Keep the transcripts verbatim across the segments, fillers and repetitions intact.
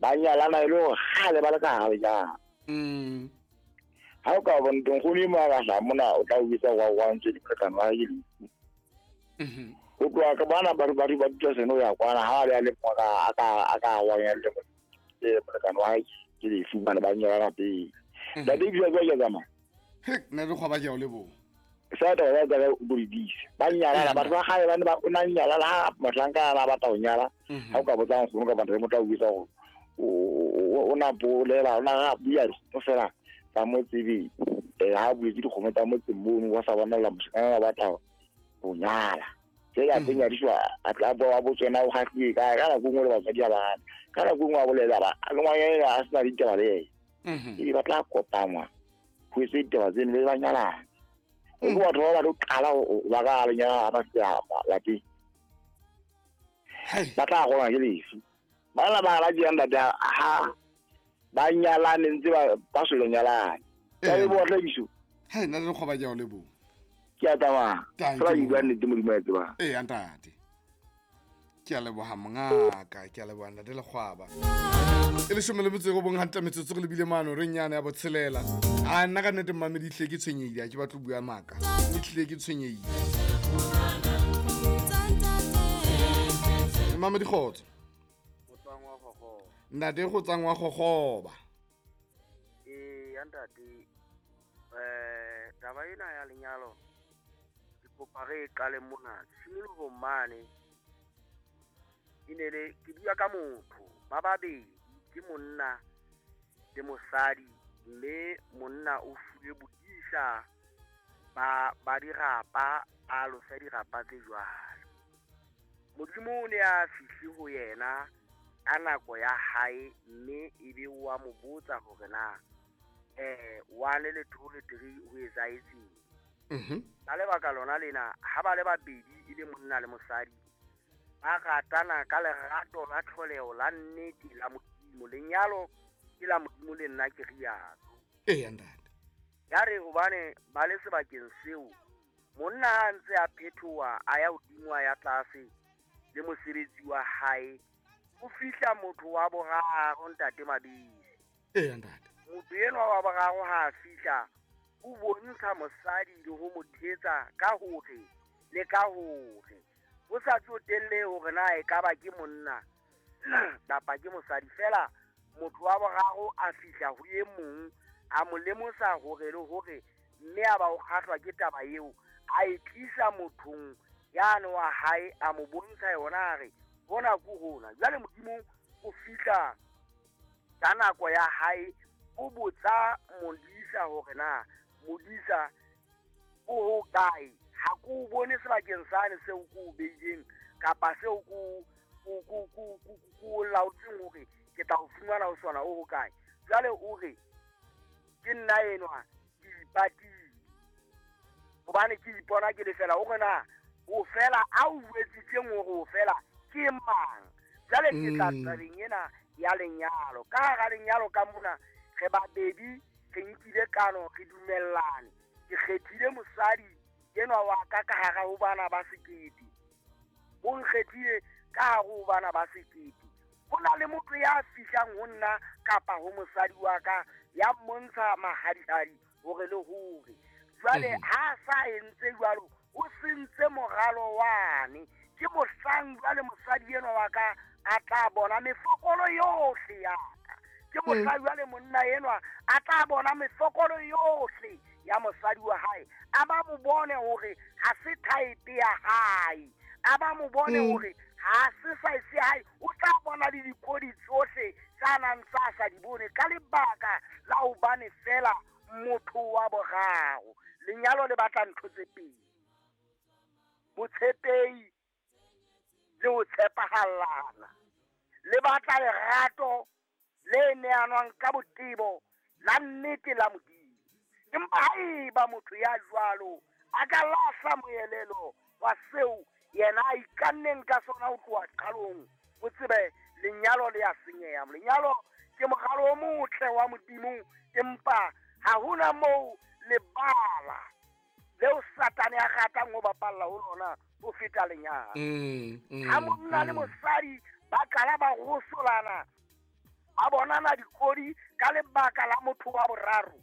Ba nyalana e le hore kgale ba le ka hara lenyalo. Mm. Ha o ka bona nkgono e mong a ka hlaha mona o tla o jwetsa wa wa ntse di molekane wa hae ke lefu. Mhm. Ho tloha ka bana ba ba ba dutla seno ya kwana ha a le mong a ka a ka a ka wa ya le molekane wa hae ke lefu bana ba nyalana pele. Ntate ebile jwale ke tsamaya. He, nna le kgwaba ke a o leboha. Sa taba ya taba o di dise. Ba nyalana batho ba kgale ba ne ba o na nyalana ha mohlanka a batla ho nyala. Mhm. Ha o ka botsa nkgono kapa ntate motho a o jwetsa hore o o o na bolela o na ga bua dikgomo fela tsa motse eh ha buetse dikgomo tsa motse mono wa sa bonela moshanyana a batla ho nyala. Tse ya teng ya diswa a tla bo wa botswena o kgahliwe kae ka nako e nngwe le batswadi ha ba hane. Ka nako e nngwe a bolela ba le ngwanyana a sena ditaba le yena. Mhm. Ebe ba tla kopangwa ho etswe ditaba tseno be ba nyalana. O ke batho ba ba tlo qala ho ho ba ka lenyalo ha ba fihla lapeng. Hai. Ba tla rongwa ke lefu. Ba la ba la jang ntate ha ba nyalane ntse ba ba so nyalane. Ka Eh. e bo tla biso. Hai, nna le kgwaba ke a o leboha. Ke a tsamaya. Thank Fela you. ke bua nnete Modimo a e tsebang. Ee, ntate. Ke a leboha mongaka, ke a leboha ntate Lekgwaba. E leshome le metso e robong hantle metsotso re lebile mano re nyane ya botshelela. A nna ka nnete mmamedi ehlile ke tshwenyehile, ha ke batle ho bua maka. Ehlile ke tshwenyehile. Mmamedi kgotso. Ntate go tsang wa gogoba. Ee, ya ntate, eh taba ena ya lenyalo ke kopa re e qale mona tshimolohong mane. E ne le ke bua ka motho ba babedi, ke monna le mosadi, mme monna o fuwe bodisa ba ba dirapa, a alosa dirapa tse jwalo. Modimo o ne a fihle ho yena ka nako ya hae, mme ebe wa mo botsa hore na eh one le two le three ho etsahetseng. Mhm. Ka lebaka lona lena, ha ba le babedi e le monna le mosadi, ba ratana ka lerato la tlholeho la nnete la Modimo. Lenyalo ke la Modimo le nna ke rialo. Ee, ntate. Ya re hobane ba le sebakeng seo, monna ha a ntse a phethoha a ya hodimo a ya tlase le mosebetsi wa hae, o fihla motho wa boraro ntate Mabisi. Ee, ntate. Motho enwa wa boraro ha a fihla, o bontsha mosadi le ho mo thetsa ka hore le ka hore ho sa tsotelle hore na e ka ba ke monna kapa ke mosadi, fela motho wa boraro a fihla ho e mong a mo lemosa hore le hore, mme a ba o kgahlwa ke taba eo, a e tlisa mothong yane wa hae, a mo bontsha yona, a re hona ke hona. Jwale Modimo o fihla ka nako ya hae, o botsa modisa hore na modisa o hokae, ha ke o bone sebakeng sane seo ke o beileng kapa seo ke o, o, o, o, o, o laotseng hore ke tla o fumana ho sona, o hokae. Jwale o re ke nna enwa ke ipatile hobane ke ipona ke le fela. O re na o fela a o jwetsitseng hore o fela ke mang? Jwale ke tla Mm. tabeng ena ya lenyalo. Ka hara lenyalo ka mona re babedi, re nkile kano, re dumellane. Ke kgethile mosadi enwa wa ka ka hara ho bana ba sekete, o nkgethile ka hare ho bana ba sekete. Ho na le motho ya fihlang ho nna kapa ho mosadi wa ka ya mmontsha mahadihadi hore le hore. Jwale Mhm. ha a sa entse jwalo, o sentse moralo wane. Ke mohlang jwale mosadi enwa wa ka a tla bona mefokolo yohle ya ka. Ke mohlang jwale monna enwa a tla bona mefokolo yohle ya mosadi wa hae. A ba mo bone hore ha se type ya hae, a ba mo bone Mm. hore ha se size ya hae. O tla bona le dikodi tsohle tsa nang tsa sa di bone ka lebaka la hobane fela motho wa boraro. Lenyalo le batla ntho tse pedi, botshepehi le ho tshepahallana. Le batla lerato le neanwang ka botebo la nnete la Modimo. Empa haeba motho ya jwalo a ka lahla moelelo wa seo yena a ikanneng ka sona ho tloha qalong, o tsebe lenyalo le a senyeha. Lenyalo ke moralo o motle wa Modimo, empa ha hona moo lebala leo Satane a ratang ho bapalla ho lona ho feta lenyalo. Mm, mm, Ha monna le mm. mosadi ba qala ba rosolana, Ba bonana dikodi ka lebaka la motho wa boraro.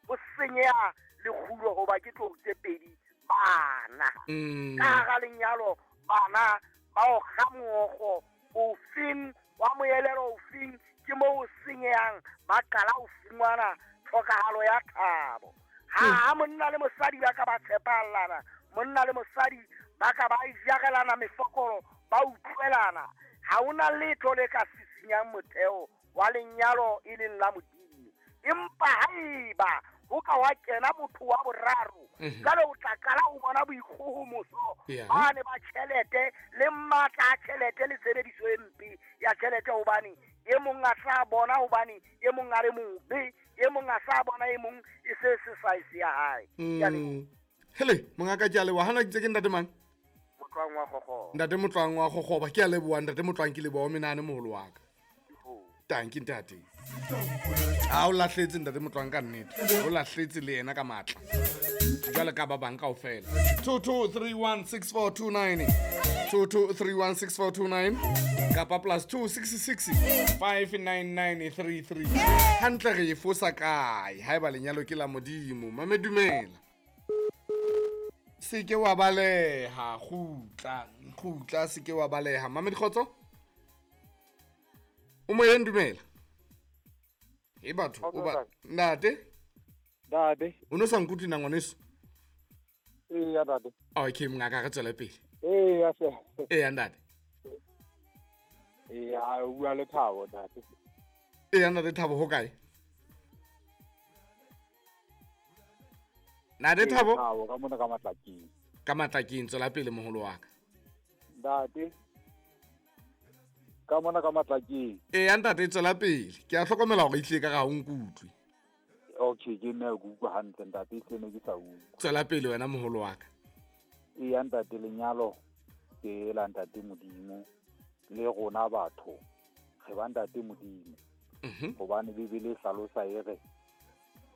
Ho senyeha lekgulo hoba ke tlou tse pedi bana. Mm. Ka hara lenyalo bana ba o kga mookgo ofeng wa moelelo ofeng ke moo o senyehang ba qala ho fumana tlhokahalo ya thabo. Ha ha monna le mosadi ba ka ba tshepalana, monna le mosadi ba ka ba ijarelana mefokolo, ba utlwelana, ha hona letho le ka sisinyang motheo wa lenyalo e leng la Modimo. Empa haeba ho ka wa kena motho wa boraro, jwale o tla qala ho bona boikgohomoso bane ba tjhelete le matla a tjhelete le tshebediso e mpe ya tjhelete, hobane e mong a tla bona hobane e mong a le mobe, e mong a sa bona e mong e se se size ya hae. Ke a leboha. Hele, mongaka ke a leboha. Hana ke tse ke ntate mang? Motlwang wa Kgokgoba. Ntate Motlwang wa Kgokgoba, ke a leboha ntate Motlwang, ke leboha o menahane moholo wa ka. Tanki ntate. A o lahletse ntate Motlwang ka nnete. O lahletse le yena ka matla. Jwale ka ba bang kaofela. two two three one six four two nine. two two three one six four two nine kapa plus two six six five nine nine three three. Hantle re e fosa kae haeba lenyalo ke la Modimo? Mame dumela. Se ke wa baleha, kgutla, kgutla, se ke wa baleha. Mame Dikgotso? O moyeng, dumela. E batho, o ba ntate? Ntate. O no sa nkutlwe na ngwaneso? Eya ntate. Okay, mongaka re tswele pele. Eya se. Eya ntate. Eya, o bua le Thabo ntate. Eya ntate Thabo, ho kae? Ntate Thabo? Thabo ka mona ka Matlakeng. Ka Matlakeng, tswela pele moholo wa ka. Ntate. Ka mona ka Matlakeng. Eya ntate, tswela pele. Ke a hlokomela hore ehlile ka ga o nkutlwe. Okay, ke nna ke utlwa hantle ntate, ehlile ne ke sa utlwe. Tswela pele wena moholo wa ka. Eya ntate, lenyalo ke la ntate Modimo le rona batho re ba ntate Modimo. Hobane Bibele e hlalosa e re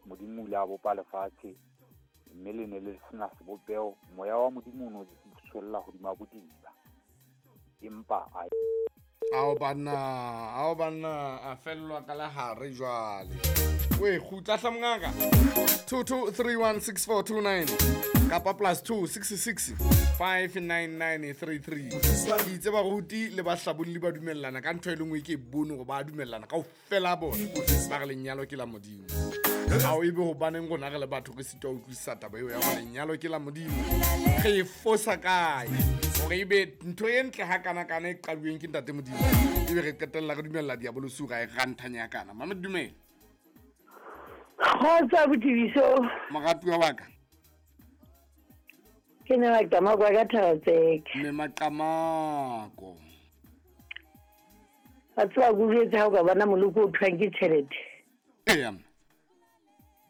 Modimo o ile a bopa lefatshe mme le ne le sena sebopeho, moya wa Modimo o no tswella hodima bodiba. Empa a Ao banna, ao banna, a fellwa ka lehare jwale. We kgutla hla mongaka. two two three one six four two nine kapa plus two six six five nine nine three three. Ke itse baruti le bahlabolli ba dumellana ka ntho e le nngwe ke e bone hore ba dumellana kaofela bona. Ba re lenyalo ke la Modimo. Ha o ebe hobaneng rona re le batho re sitwa ho utlwisisa taba eo ya hore lenyalo ke la Modimo. Re e fosa kae? Hore ebe ntho e ntle hakana-kana e qaduweng ke ntate Modimo, ebe re qetella re dumella diabolosi hore a e ranthanya kana. Mama dumela. Kgotsa botibiso. Moratuwa wa ka. Ke ne Maqamako ka Thaba-Tseka. Mme Maqamako. Wa tseba ke utlwetse ha o ka bona moloko o thwang ke tjhelete. Eya.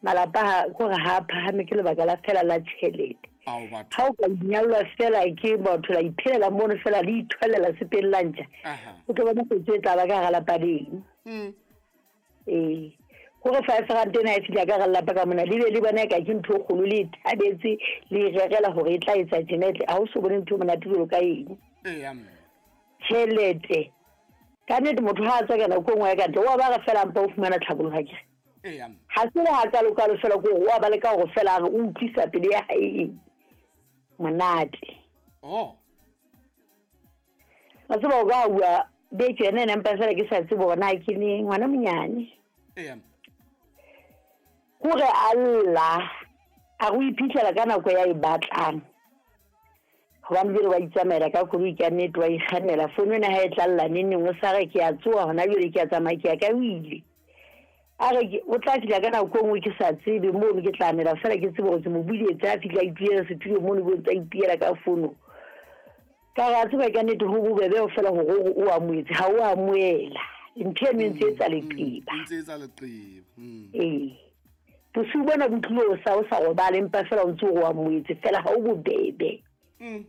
Malapa ha kore ha a phahame ke lebaka la fela la tjhelete. Ao batho. Ha o ka nyallwa fela ke batho la iphelela mono fela le ithwalela sepeng la ntja. O tlo bona kotsi e tla ba ka hara lapa leng. Mm. Ee. Hore five rand ena e fihla ka hara lelapa ka mona, le be le bona eka ke ntho e kgolo, le e thabetse, le e rerela hore e tla etsa tjena, e tle ha o so bone ntho e monate jwalo ka eng. Eya mme. Tjhelete. Ka nnete motho ha a tswa ka nako e nngwe ya ka ntle, wa ba re fela mpa o fumana tlhaboloho akere. Eya mme. Ha se le hakalo-kalo fela ke hore wa ba leka hore fela a re o utlwisa pelo ya hae eng monate. Oh. Wa tseba o ka bua beke yona ena empa fela ke sa tsebe hore na ke neng, ngwana monyane. Eya mme. Hore a lla, a re o iphitlhela ka nako ya e batlang. Hobane jwale wa itsamaela ka koloi ka nnete, wa ikgannela. Founu ena ha e tla lla neng neng, o sa re ke a tsoha hona jwale ke a tsamaya ke ya ka o ile. A re ke o tla fihla ka nako e nngwe ke sa tsebe mono ke tla anela fela ke tsebe hore ke mo buletse a fihla a itulela setulo mono bo ntse a ipiela ka founu. Ka re a tseba ka nnete ho bobebe ho fela hore o o amohetse, ha o amohela. Ntho eno e ntse e etsa leqeba. E ntse e etsa leqeba. Mm. Ee. Bosiu bona bo tlile o sa o sa robale empa fela o ntse o amohetse fela ha o bobebe. Mm.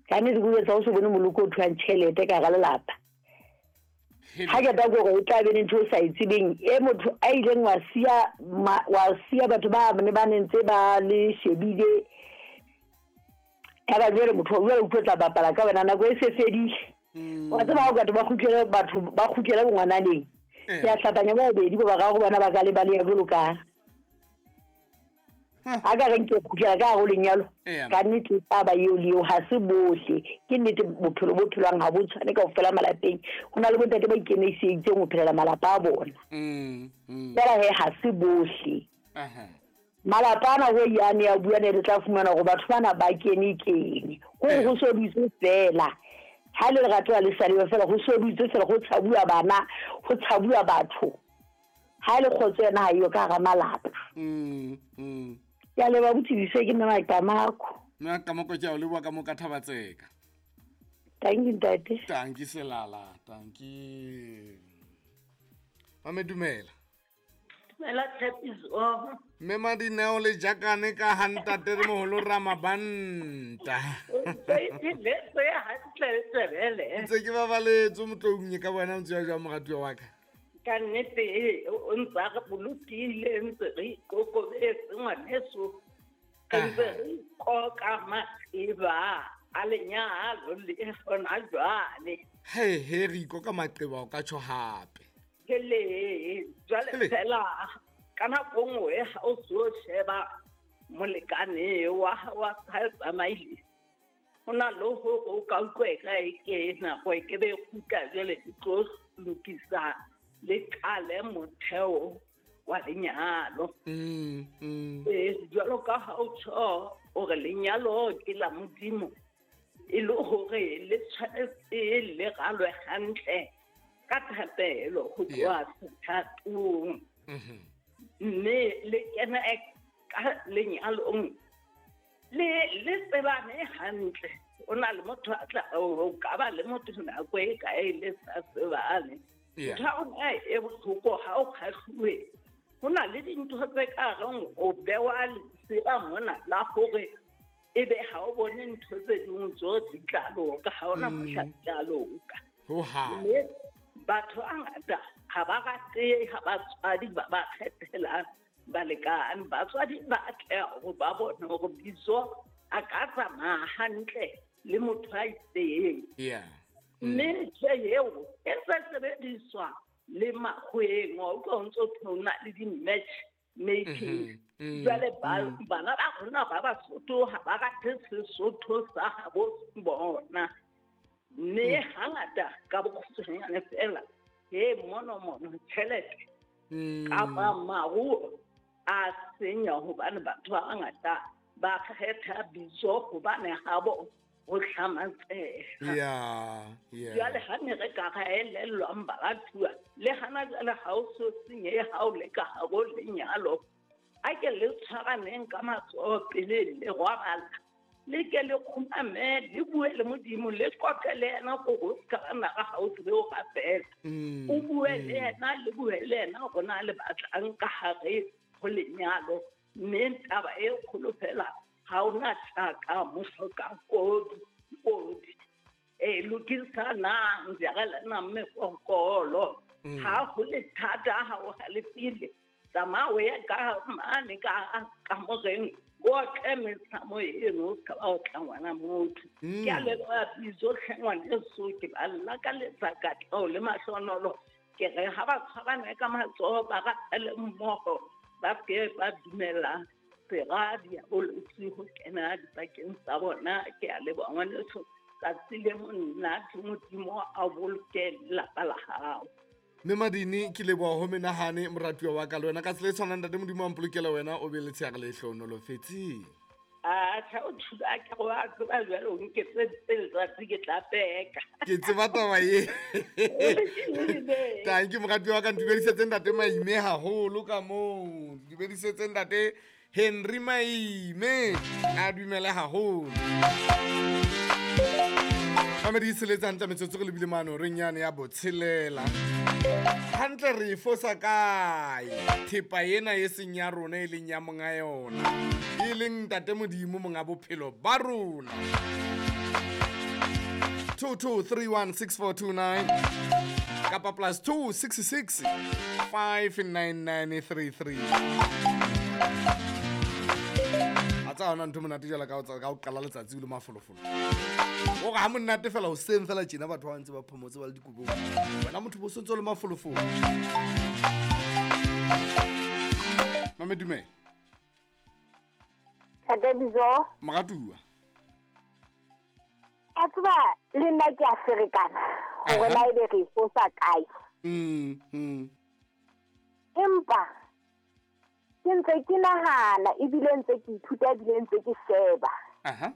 Ka nnete ke etsa o se bone moloko o thwang tjhelete ka hara lelapa. Ha ke tla gore o tla be le ntho o sa e tsebeng e motho a ileng wa siya wa siya batho ba ne ba ntse ba le shebile. Ya ba jwale motho o jwale o tlo tla bapala ka wena nako e se fedile. Wa tseba ha o ka ba kgutlele batho ba kgutlele bongwananeng. Ke a hlapanya ba babedi ba bararo bona ba ka le baleha jwalo ka. Ha ka reng ke kgutlela ka hare ho lenyalo. Ka nnete taba eo le eo ha se bohle. Ke nnete bophelo bo phelwang ha bo tshwane kaofela malapeng. Ho na le bontate ba ikemiseditseng ho phelela malapa a bona. Fela he ha se bohle. Malapa ana ho yane ya bua ne re tla fumana hore batho bana ba kene keng. Hore ho so dutse fela. Ha le lerato le sa le fela ho so dutse fela ho tshabuwa bana, ho tshabuwa batho. Ha le kgotso yena ha iyo ka hara malapa. Mm mm. Ya le ba botsebise ke nna Makamako. Nna Kamako ke a o leboha ka mo ka Thabatseka. Thank you ntate. Thank you Selala, thank you. Mame dumela. Dumela Tshepiso. Mme Madineo le jakane ka ha ntate re moholo Ramabanta. Ntse ke babaletse motloung ka bona ntse ya jwa moratuwa wa ka. Ka nnete o ntse re bolokile ntse re ikokobetse ngwaneso. Re ntse re ikoka maqeba a lenyalo le hona jwale. He he re ikoka maqeba o ka tjho hape. Ke le jwale fela ka nako nngwe ha o so sheba molekane wa wa ha tsamaile. Ho na le hore o ka utlwa e ka e ke nako e ke be kgutla jwale ke tlo lokisa le qale motheo wa lenyalo. Mm, mm. Eh, jwalo ka ha o tjho hore lenyalo ke la Modimo, e le hore le tshwanetse le ralwe hantle ka thapelo ho tloha sethatong. Mme le kena ka lenyalong le le tsebane hantle. O na le motho a tla o ka ba le motho nako e kae le sa tsebane. Ntho e bohloko ha o kgahluwe. Ho na le dintho tse ka reng o bewa lesira mona la hore ebe ha o bone ntho tse ding tso di tla loka, ha ona mohla di tla loka. Ho ha. Mme batho ba ngata ha ba rate ha batswadi ba ba kgethelang balekane. Batswadi ba atleha hore ba bone hore bitso a ka tsamaya hantle le motho a itseng. Yeah. Mme ntho eo e ntse sebediswa le makgweng, wa utlwa ho ntso ho na le di-match making. Jwale bana ba rona ba Basotho ha ba rate Sesotho sa habo bona. Mme hangata ka bokgutshwanyane fela he mono mono tjhelete kapa maruo a senya hobane batho ba bangata ba kgetha bitso hobane habo ho hlamatseha. Yeah, yeah. Jwale ha ne re ka ra elellwang baratuwa le hana jwale ha o so senyehe ha o le ka hare ho lenyalo. A ke le tshwaraneng ka matsoho pele le robala. Le ke le kgumame, le bue le Modimo, le qoqe le yena hore o ska ba nara ha o tsebe ho rapela. O bue le yena, le bue le yena hore na le batlang ka hare ho lenyalo. Mme taba e kgolo fela ha ona tjaka mohloka kodi kodi. E lokisanang jarelanang mefokolo. Ha ho le thata ha o halefile, tsamaya o ye ka mane ka kamoreng o tle mesamo eno o ska ba o tla ngwana motho. Ke a leboha bitso hle ngwaneso, ke ba lakaletsa katleho le mahlonolo. Ke re ha ba tshwarane ka matsoho ba rapele mmoho, ba ke ba dumela sera diabolotsi ho kena dipakeng tsa bona. Ke a leboha ngwaneso, tsatsi le monate Modimo a boloke lelapa la hao. Mme Madini ke leboha ho menahane moratuwa wa ka le wena ka tsela e tshwanang ntate Modimo a mpolokela wena o be le tsheare le hlohonolofetseng. Atjha o thula ke go a tseba jwale o nketseditse letsatsi ke tla peka. Ke tseba taba e. Thank you moratuwa wa ka, ntumedisetse ntate Maime haholo ka moo. Ntumedisetse ntate Henry Maime a dumele haholo. Mamedi tsheletse hantle metsotso re lebile mane reng yane ya botshelela. Hantle re e fosa kae thepa ena e seng ya rona e leng ya monga yona e leng ntate Modimo monga bophelo ba rona. two two three one six four two nine kapa plus two six six five nine nine three three. Tsa ona ntho monate jwalo ka o ka o qala letsatsi o le mafolofolo. O re ha monate fela hoseng fela tjena batho ba ntse ba phomotse ba le dikobong. Wena motho bo sontse o le mafolofolo. Mame dumela. Ntate Bizo. Moratuwa. A tseba le nna ke a ferekana hore na ebe re fosa kae. Mm mm. Empa ke ntse ke nahana ebile ntse ke ithuta ebile ntse ke sheba. Aha.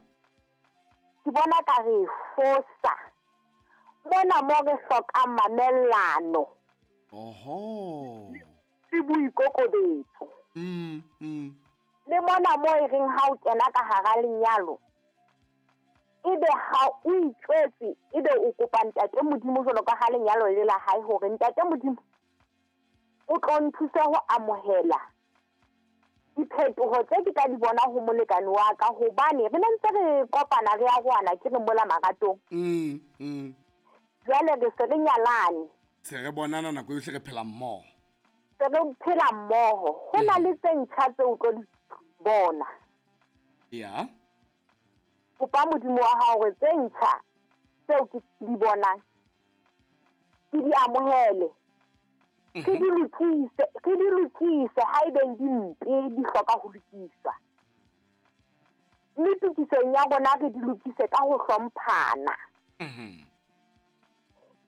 Ke bona ka re fosa. Mona mo re hlokang mamellano. Oho. Le boikokobetso. Mm mm. Le mona mo e reng ha o kena ka hara lenyalo ebe ha o itjwetse ebe o kopa ntate Modimo jwalo ka ha lenyalo le la hae hore ntate Modimo o tlo nthuse ho amohela diphetoho tse ke tla di bona ho molekane wa ka hobane re ne ntse re kopana re a rwana ke re mola maratong. Mm mm. Jwale re se re nyalane. Se re bonana nako yohle re phela mmoho. Se re phela mmoho. Ho na le tse ntjha tse o tlo di bona. Ya. Kopa Modimo wa hao hore tse ntjha tseo ke di bonang ke di amohele. Ke di lokise, ke di lokise haebe di mpe di hloka ho lokiswa. Mme tokisong ya rona re di lokise ka ho hlomphana. Mhm.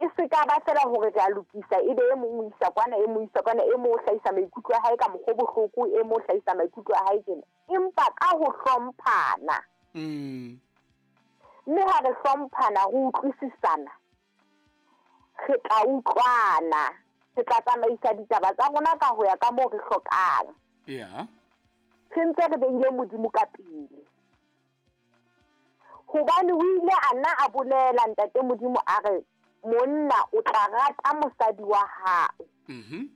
E se ka ba fela hore re a lokisa ebe e mong o isa kwana e mong o isa kwana e mong o hlahisa maikutlo a hae ka mokgwa o bohloko e mong o hlahisa maikutlo a hae tjena. Empa ka ho hlomphana. Mm. Mme ha re hlomphana re utlwisisana re tla utlwana. Re tla tsamaisa ditaba tsa rona ka ho ya ka moo re hlokang. Yeah. Re ntse re beile Modimo ka pele. Hobane o ile a nna a bolela ntate Modimo a re monna o tla rata mosadi wa hao. Mhm.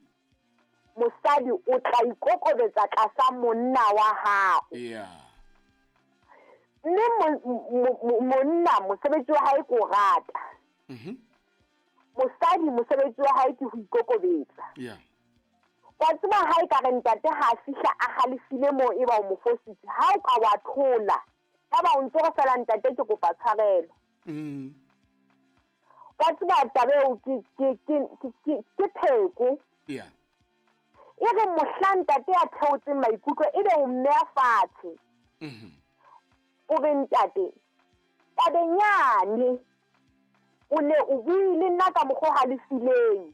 Mosadi o tla ikokobetsa tlasa monna wa hao. Yeah. Mme monna mosebetsi wa hae ke o rata. Mhm. Mosadi mosebetsi wa hae ke ho ikokobetsa. Yeah. Wa tseba ha e ka re ntate ha a fihla a halefile moo e ba o mo fositse, ha o ka wa thola ya ba o ntse re fela ntate ke kopa tshwarelo. Mm. Wa tseba taba eo ke ke ke ke ke pheko. Yeah. E re mohla ntate a theotseng maikutlo ebe o mmeya fatshe. Mhm. O re ntate tabeng yane o ne o buile nna ka mokgwa o halefileng.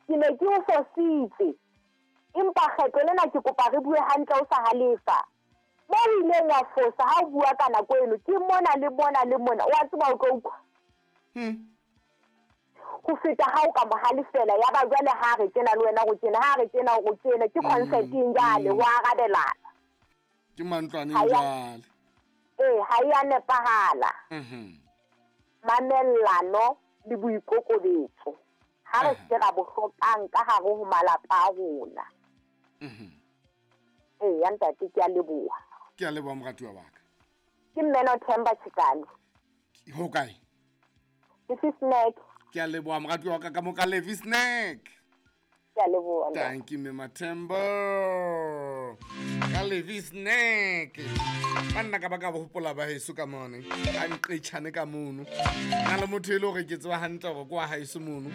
Ke ne ke o fositse. Empa kgetlo lena ke kopa re bue hantle o sa halefa. Mo o ileng wa fosa ha o bua ka nako eno ke mona le mona le mona wa tseba o tlo utlwa. Hmm. Ho feta ha o ka mo halefela ya ba jwale ha re tjena le wena go tjena ha re tjena go tjena ke consenting jwale ho arabelana. Ke mantlwaneng jwale. Eh ha ya nepahala. Mhm. Mamellano le boikokobetso ha re se ra bo hlokang ka hare ho malapa a rona. Mhm. Eh ya ntate ke a leboha. Ke a leboha moratuwa wa ka. Ke Mmeno Themba Chikane. Ho kae? Ke se snack. Ke a leboha moratuwa wa ka ka mo ka Levi snack. Ke a leboha. Thank you Mme Mathemba. Ka Levi snack. Banna ka ba ka hopola ba heso ka mone. Ka nqetjhane ka mono. Na le motho e le hore ke tseba hantle hore kwa haeso mono.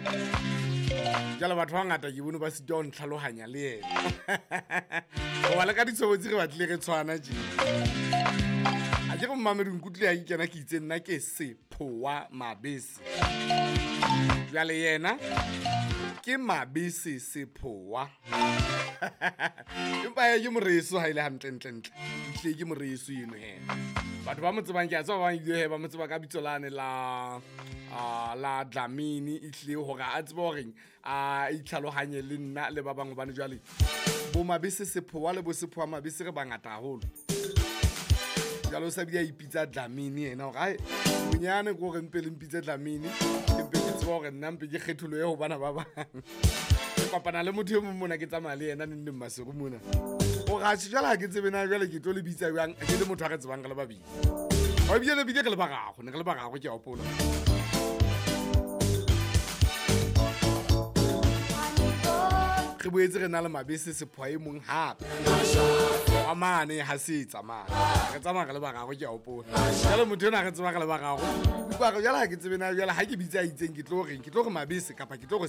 Jwale batho ba ngata ke bone ba sitwa ho ntlhalohanya le yena. Hoba le ka ditshobotsi re batlile re tshwana tje. A ke re mmamedi nkutlwe ha ke kena ke itse nna ke Sephowa Mabese. Jwale yena ke Mabese Sephowa. Empa ye ke moreso ha ile hantle ntle ntle. Ntle ke moreso eno he. Batho ba mo tsebang ke a tseba ba bang ebile he ba mo tseba ka bitso lane la ah la Dlamini ehlile hore a tsebe hore a itlhalohanye le nna le ba bang hobane jwale bo Mabese Sephowa le bo Sephowa Mabese re bangata haholo. Jwale o sa bile a ipitsa Dlamini yena hore ai bonyane ke hore mpe le mpitse Dlamini ke mpe ke tsebe hore nna mpe ke kgetholohe ho bana ba bang. Ke kopana le motho e mong mona ke tsamaya le yena neng neng Maseru mona. O ratjhe jwale ha ke tsebe na jwale ke tlo le bitsa jwang ke le motho a re tsebang re le babedi. Wa ebile le bile re le bararo, ne re le bararo ke a hopola. Re boetse re na le Mabese Sephowa e mong hape. Wa mane ha se tsamaya. Re tsamaya re le bararo ke a hopola. Jwale motho enwa re tseba re le bararo. Utlwa re jwale ha ke tsebe na jwale ha ke bitsa a itseng ke tlo reng, ke tlo re mabese kapa ke tlo re